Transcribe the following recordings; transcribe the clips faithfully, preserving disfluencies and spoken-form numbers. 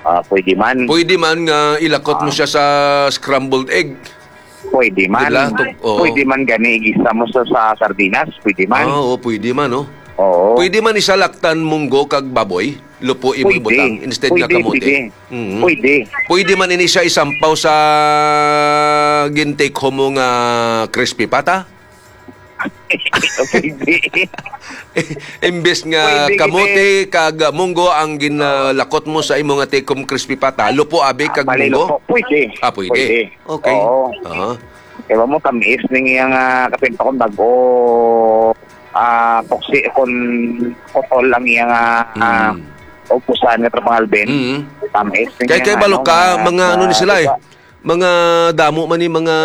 Ah, pwede man. Pwede man nga ilakot mo Ah. siya sa scrambled egg. Pwede man. Dila, to-, oo. Pwede man gani igisa mo sa, sa sardinas, pwede man. Ah, oo, pwede man, oh. Oo. Pwede man isalaktan munggo kag baboy, lupo imo Pwede. ibutang instead nga Pwede, kamote. pwede. Mhm. Pwede. Pwede man ini siya isampaw sa gin-take home mo nga crispy pata? Pwede. Imbes nga Pwede, kamote kag munggo ang ginalakot mo sa imo nga take home crispy pata, lupo abi kag Bali, munggo? lupo. Pwede. Ah, pwede. Pwede. Okay. Oo. Aha. Diba mo, tamis ning iyang, ah, kapin pa kung bago, ah, puksi, kung putol ang iyang, ah, ah, Mm. upusan nga Tropang Alvin. Mm. Tamis ning Kay, iyang, kay balo ano, ka, nga, mga ano ni ah, sila eh. diba? Mga damo man ni mga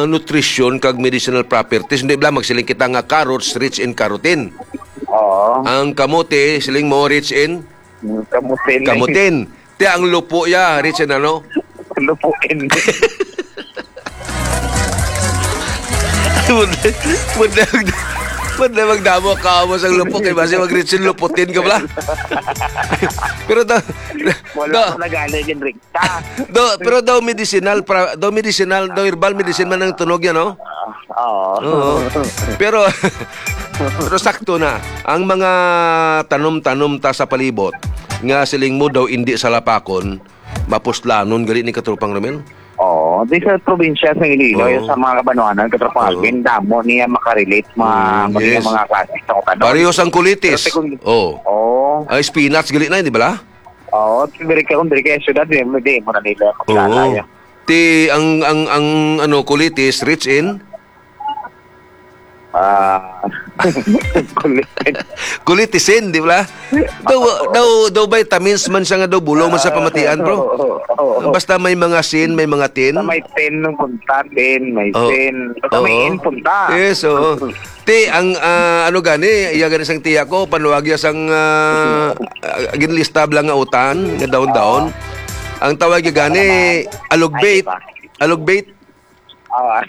nutrition kag medicinal properties. Hindi bala, magsiling kita nga carrots rich in carotene. Oo. Ang kamote, siling mo, rich in Mm, kamutin. Kamutin. Ti ang lupo ya, rich in ano? Lupuin. Pwede, pwede, pwede magdamo ka mo sa lupo kay basi mag-rich in luputin ka bala. Pero da, Wala da, ko nagaling, Enric. Ta. Do, pero daw medicinal, pra-, daw medicinal, daw herbal medicine man ang tunog yan, no? Ah, oo. Oo. Pero, pero sakto na. Ang mga tanom-tanom ta sa palibot, nga siling mo daw indi salapakon, mapuslanon gali ni Katropang Romel? Oo. Di sa probinsya sa Iloilo, Oo. sa mga kabanwanan, Katropang Oo. Alvin, damo niya makarelate, mga, Mm, mga, yes. mga klase sa kutano. Pareho sang kulitis. Pero ti kung Oo. Oo. Ay, spinach gali na, di ba la? Oo, diri ka, kung diri ka sa syudad, di, di mo na nila makilala Oo. yan. Ti ang, ang, ang, ano, kulitis, rich in? Ah, kulit. Kulitisin, di ba? Daw, Oo. daw, daw vitamins man siya nga daw bulong man sa pamatian, bro. Oo, oo, oo. Basta may mga sin, may mga tin. Sa may tin nung punta, tin, may Oo. sin. Basta may Oo. in punta. Yes, oo. Ti, ang, ah, ano gani, iya gani sang tiya ko, panuwag iya sang, ah, ah, ginlista bala nga utan, nga daon-daon. Oo. Ang tawag iya gani, Ano naman? alugbate. Ay, di ba? Alugbate. Ah,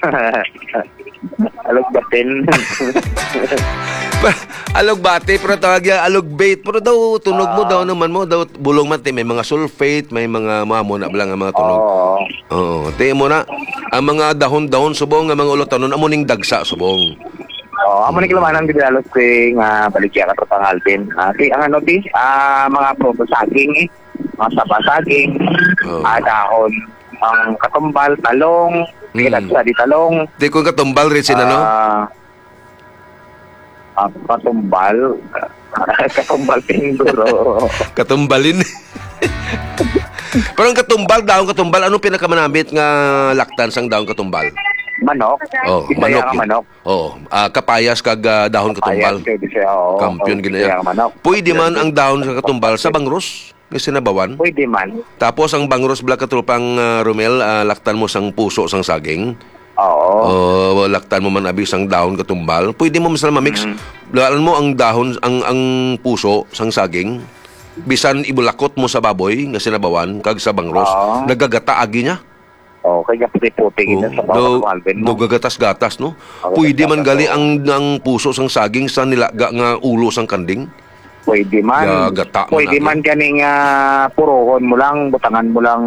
alugbatin. Pa-, alugbate, pero tawag iya alugbate. Pero daw, tunog mo, Oo. daw naman mo, daw bulong man, ti, may mga sulfate, may mga, mga mo na bala nga mga tunog. Oo. Oo, ti mo na, ang mga dahon-dahon subong, nga mga ulutanon, amo ning dagsa subong. Oo, amo ning Mm. kalumanan, Bidalo, si nga baligya ka, Tropang Alvin. Ah, ti, ang ano, ti, ah, mga prutas, saging, eh. Mga saba, saging, Oo. ah, dahon, ang katumbal, talong, Mm. pinagsa di talong. Di ko katumbal rin sila, no? Ah, ah, katumbal. Katumbal, siguro. Katumbalin. Pero ang katumbal, dahon katumbal, anong pinakamanamit nga laktan sang dahon katumbal? Manok. Oh, Bisaya manok nga yun. manok. Oo. Ah, kapayas kag, ah, dahon Kapayas katumbal. kay Bisaya, oo. Kampiyon Oo, gina Bisaya yan. nga manok. Pwede Kampiyon man din. ang dahon sa katumbal sa bangros, nga sinabawan. Pwede man. Tapos ang bangros, bala, Katropang, ah, Romel, ah, laktan mo sang puso sang saging. Oo. O, laktan mo man abi sang dahon katumbal. Pwede mo masal mamix. Mm. Lalan mo ang dahon, ang, ang puso sang saging. Bisan ibulakot mo sa baboy nga sinabawan kag sa bangros, Oo. nagagata agi niya. Oh, kay gaputi-puti gid Oo. sa bawang Daw, Alvin daw mo. gagatas-gatas, no? Oh, Pwede man gatas-gatas, gali oo. ang, ang puso sang saging sa nilaga nga ulo sang kanding? Pwede man. Gagata man Pwede agi. man gani nga purohon mo lang, butangan mo lang,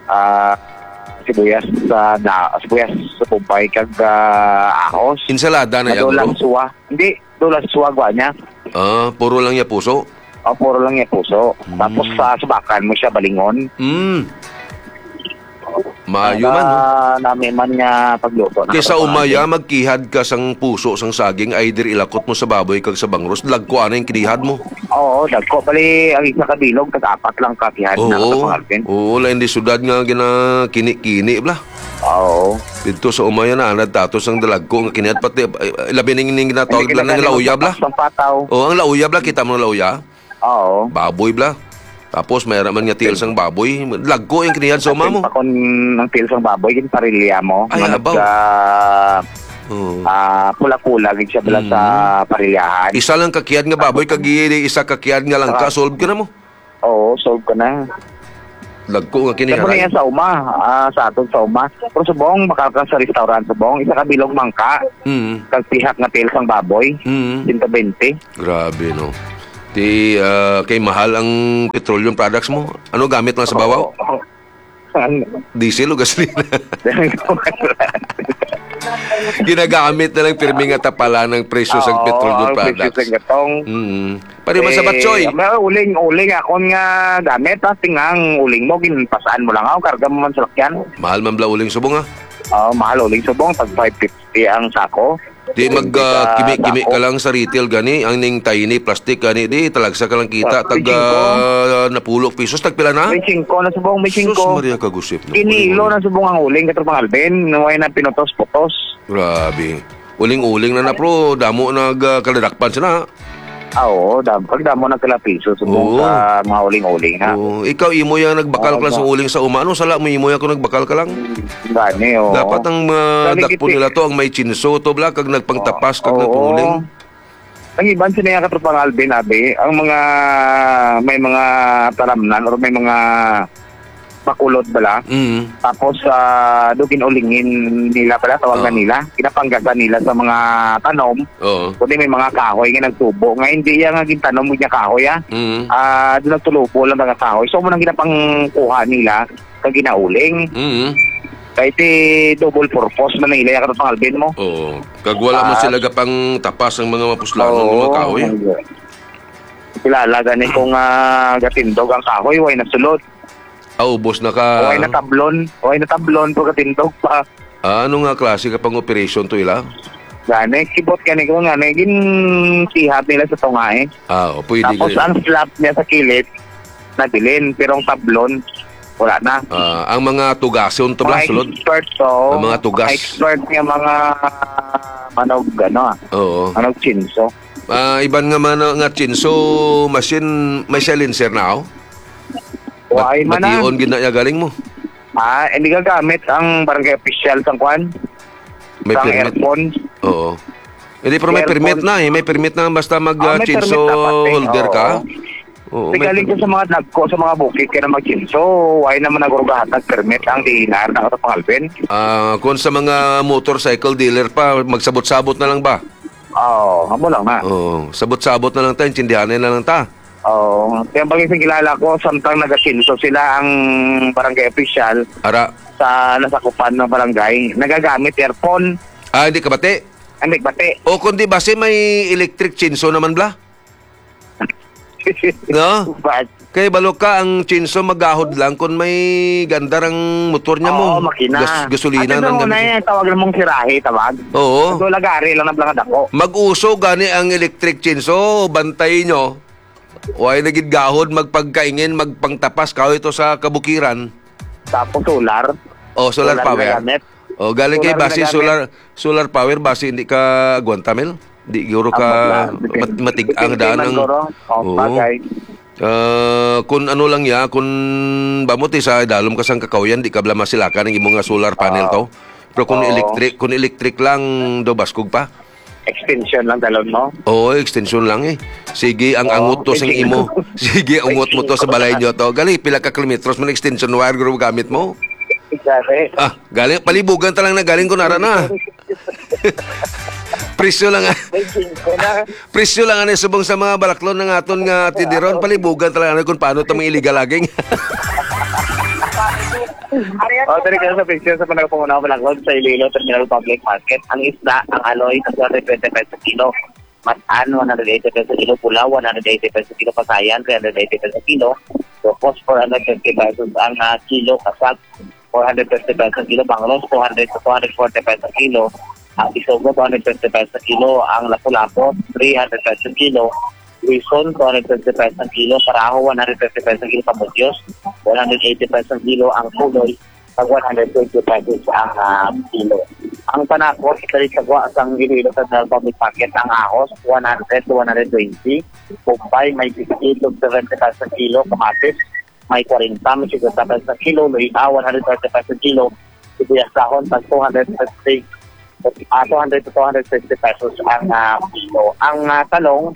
ah, sibuyas sa da-, sibuyas sa kumpay kag, ah, ahos. Ensalada na Nga yan, daw bro? lang suwa. Hindi, daw lang suwa, gwa niya. Ah, puro lang niya puso? Oh, puro lang niya puso. Hmm. Tapos sa subakan mo siya balingon. Hmm. Maayo man, no? Ah, nami man nga pagluto na Kaysa katunayan. umaya, magkihad ka sang puso, sang saging, either ilakot mo sa baboy kag sa bangros, lagko anay ang kinihad mo. Oo, dagko. Bali, ang isa ka bilog, tag-apat lang ka kihad na Oo. sa pangarpin. Oo, lain di sudad nga gina-kini-kini, bla. Oo. Dito sa umaya na, anad tato sang dalagko nga kinihad, pati, eh, labi ning, ning ginatawag Hindi bla, ng kinakailangan lauya, bla. magpapas ng pataw. Oo, ang lauya, bla, kita mo ang lauya? Oo. Baboy, bla. Tapos, may naman nga tiil sang baboy. Lagko yung kinihan sa uma mo. Pati pa kung ang tiil sang baboy, yung parilya mo. Ay, Nga abaw. nag, ah, Oo. ah, pula-pula, gid siya bala Mm. sa parilyahan. Isa lang kakiyad nga baboy, Tapos, kag i-, isa kakiyad nga lang ka, Saka, solve ka na mo. Oo, solve ka na. Lagko nga Kaya mo na kiniharay. yan sa uma, ah, sa aton sa uma. Pero subong, makal ka sa restaurant, subong, isa ka bilog mangka, Mm. kag pihak nga tiil sang baboy, Mm. sento bente. Grabe, no? Ti, ah, kay mahal ang petroleum products mo. Ano gamit lang sa babaw? Oo. Ano? Diesel o gasolina? Ginagamit na lang pirmi nga tapalan ang presyo sang Oo, petroleum ang presyo products. Sa gatong. Mm. Pwede man sa Eh, batsoy. Ang mga uling, uling akon nga gamit, ha, tingang uling mo, ginpasaan mo lang ako, karga mo man sa lakyan. Mahal man bala uling subong, ha? Oo, mahal uling subong, tag five fifty ang sako. Di mag, Hindi ah, ka kimi-kimi ka dako. Lang sa retail gani, ang ning tiny plastic gani, di talagsa ka lang kita, Ah, tag, twenty-five. Ah, napulo pesos, tagpila na? May singko na subong, may Sus, singko. Maria kagusip, no? Kinilo na subong ang uling, Katropang Alvin, way na pinutos-putos. Grabe. Uling-uling na na, pro, damo nag, ah, kaladakpan sila. Ah, oo, dam-, pag damo nagkalapiso subong Oo. Sa mga uling-uling, ha? Oo. Ikaw, imo yang nagbakal Oo, ka lang sa ba? Uling sa uma, ano? Sala mo, imo yang kung nagbakal ka lang. Gani, oo. Dapat ang, ah, Gani dakpon kiti- nila to, ang may chinso to, bla, kag nagpangtapas, kag Oo. Nagpanguling. Ang iban sila nga, Katropang Alvin, abi, ang mga, may mga talamnan or may mga bakulod bala. Mm. Tapos, ah, do ginulingin nila pala, tawag na Oo. Nila. Ginapanggasan nila sa mga tanom. Oo. Kundi may mga kahoy nga nagtubo. Nga hindi yan nga gintanom niya kahoy, ah. Mm. Ah, doon nagtulubo lang mga kahoy. So, mo nang ginapangkuha nila, kag ginauling. Mm. Kay ti double purpose man ang ila, Katropang Alvin mo. Oo. Kag wala man Ah. Sila gapang tapas ang mga mapuslanon nga mga Oo. Kahoy. Kilala gani kung, ah, gatindog ang kahoy, way nasulod. Ah, ubos na ka. Way natablon. Way natablon, pag gatindog pa. Ah, ano nga klase ka pang operation to ila? Gani, kibot gani ko nga, may ginsihab nila sa tunga, eh. Ah, oh, pwede Tapos gani. Ang slab niya sa kilid, nabilin, pero ang tablon, wala na. Ah, ang mga tugason to ba, Mga sulod? Expert to. Ang mga tugas. Mga expert nga mga manog, ano, ah, Oo. Manog chinso. Ah, iban nga man nga chinso machine, may silencer na, oh? Wa, ay man na. Bation gid na iya galing mo. Ah, hindi gagamit ang barangay official sang kwan? May Sang permit. Aircon. Oo. Hindi, pero may Aircon. Permit na eh. May permit na basta mag, Ah, ah, may permit chinso na pati. Holder ka. Oo. Oo, Di may galing ko permit. Sa mga dagko, sa mga bukid, kaya na mag-chinso. Ay naman nagrugahatag permit ang D N R na Katropang Alvin. Ah, kung sa mga motorcycle dealer pa, magsabot-sabot na lang ba? Oo, amo lang na. Oo, sabot-sabot na lang ta, intindihanin na lang ta. Oo, kaya pag isang kilala ko, samtang nag-asinso sila ang barangay official Ara. Sa nasakupan ng barangay, nagagamit aircon. Ah, hindi ka bati? Hindi bati. O kundi basi may electric chainsaw naman bla? No? But Kay balo ka ang chainsaw magahod lang kung may gandar ang motor niya Oo, mo. Makina. Gas-, gasolina At nang ito gamit. Na yung tawag namong sirahe, tawag. Oo. So, lagari lang na bla nga dako. Mag-uso gani ang electric chainsaw, bantay nyo. Way na gid gahod, magpagkaingin, magpangtapas, kahoy to sa kabukiran. Tapos solar. Oh, solar Solar power. Ginagamit. Oh, galing kay Solar basi ginagamit. Solar, solar power, basi hindi ka agwanta, Mel? Di guro ka Ang bakla, depende. Mat-, matig-, ang Depende daan man ang guro. Oh, Oo. Bagay. Ah, kun ano lang ya, kun bamot eh, sa dalom ka sang kakahuyan, di ka bala masilakan ang imo nga solar panel Oo. To. Pero kung Oo. Electric, kung electric lang, do baskog pa. Extension lang dalon mo? Oo, extension lang eh. Sige, ang Oo, angot to sing extension. Imo. Sige, angot mo to sa balay nyo to. Gali, pila ka kilometros man extension wire guro gamit mo? Grabe. Ah, gali, palibugan ta lang na galing ko nara na. Presyo lang, ah. May singko na. Presyo lang ani subong sa mga balaklon ng aton nga tindiron. Palibugan ta lang ani kung paano ta mga illegal logging. Oh, dali ka sa picture sa Panagpanguna, Malaglag, sa Iloilo Terminal Public Market. Ang isda, ang aloy, two hundred twenty pesos kilo. Matan, one hundred eighty pesos kilo. Pula, one hundred eighty pesos kilo. Pasayan, three hundred eighty pesos kilo. Locos, four hundred fifty pesos ang, ah, kilo. Kasag, four hundred fifty pesos kilo. Banglos, two hundred to two hundred forty pesos kilo. Ang isogo, two hundred fifty pesos kilo. Ang lapu-lapu, three hundred pesos kilo. Luison, two hundred fifty pesos ang kilo. Paraho, one hundred fifty pesos ang kilo. Pamudyos, one hundred eighty pesos ang kilo. Ang kuloy, tag one hundred twenty pesos ang, ah, kilo. Ang panakot, dali sa gwa sang Iloilo Central Public Market, ang ahos, one hundred to one hundred twenty. Bombay, may sixty to seventy pesos ang kilo. Kamatis, may forty, may fifty pesos ang kilo. Luya, one hundred thirty pesos ang kilo. Sibuyas dahon, tag two hundred fifty, ah, two hundred to two hundred fifty pesos ang, ah, kilo. Ang, ah, talong,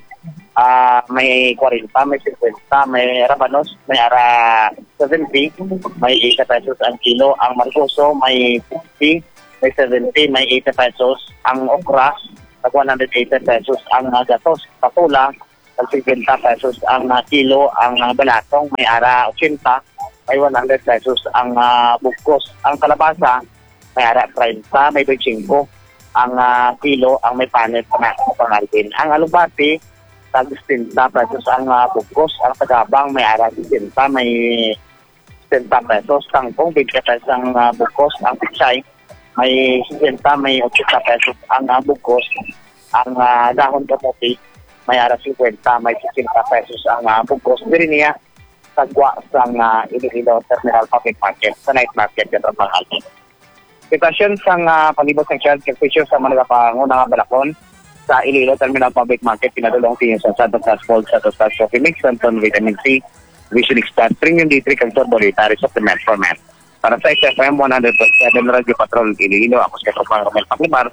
ah, may forty, may fifty, may rabanos, may ara seventy, may eighty pesos ang kilo. Ang margoso, may fifty, may seventy, may eighty pesos. Ang okra, tag one hundred eighty pesos ang, ah, gatos. Patola, tag fifty pesos ang, ah, kilo, ang, ah, balatong may ara eighty, may one hundred pesos ang, ah, bugkos. Ang kalabasa may ara thirty, may twenty-five ang, ah, kilo, ang may panit na sa pangalpin. Ang alugbati, tag sixty pesos ang, ah, bugkos. Ang tagabang may ara sixty, may sixty pesos. Kangkong, twenty pesos ang, ah, bugkos. Ang pichay, may sixty, may eighty pesos ang, ah, bugkos. Ang, ah, dahon kamote, may ara fifty, may sixty pesos ang, ah, bugkos. Diri niya, sa gwa sang, ah, Iloilo Terminal Public Market, sa night market, katong pangalpin. Sitwasyon sang, ah, palibot sang health, kag presyo sa mga nagapanguna nga balakon sa Iloilo Terminal Public Market, pinadulong sa inyo sa Santos Plus Gold, Santos Plus Coffee Mix, Santon Vitamin C, Vision Extract, Premium D three, kag Turbo Litaris Supplement for Men. Para sa X F M one hundred point seven Radyo Patrol Iloilo, ako si Katropang Romel Paclimar,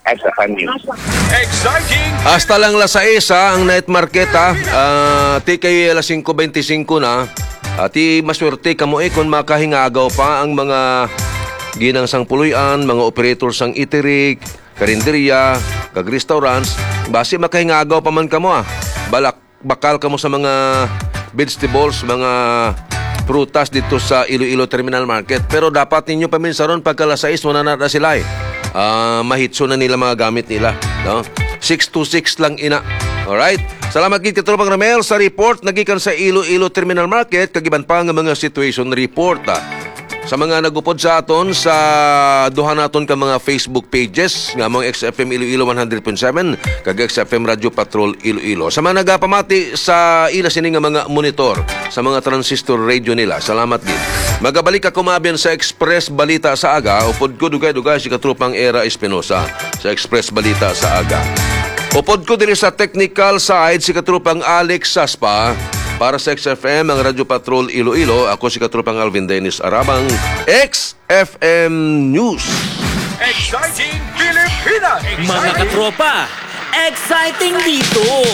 X F M News. Exciting! Hasta lang las sais, ha, ang night market, ha. Ah, ti kay alas singko bente singko na. Ati maswerte kamo, eh, kung makahingagaw pa ang mga ginang sang puloy-an, mga operator sang eatery, karinderya, kag restaurants. Basi makahingagaw pa man kamo, ah. Balak bakal kamo sa mga vegetables, mga prutas dito sa Iloilo Terminal Market. Pero dapat ninyo paminsaron, pagka alas sais, wala na, na sila, eh. Ah, mahitso na nila mga gamit nila, no? Six to six lang ina. Alright? Salamat gid, Katropang Ramel, sa report nagikan sa Iloilo Terminal Market, kag iban pa nga mga situation report, ah. Sa mga nagupod sa aton sa duha naton ka mga Facebook pages, nga mong X F M Iloilo one hundred point seven kag X F M Radyo Patrol Iloilo. Sa mga nagapamati sa ila sini nga mga monitor sa mga transistor radio nila, salamat gid. Magabalik ako, maabyan, sa Express Balita sa Aga. Upod ko, dugay-dugay, si Katropang Era Espinosa sa Express Balita sa Aga. Upod ko diri sa technical side, si Katropang Alex Saspa. Para sa X F M, ang Radyo Patrol Iloilo, ako si Katropang Alvin Dennis Arabang, X F M News. Exciting Pilipinas! Mga katropa, exciting dito!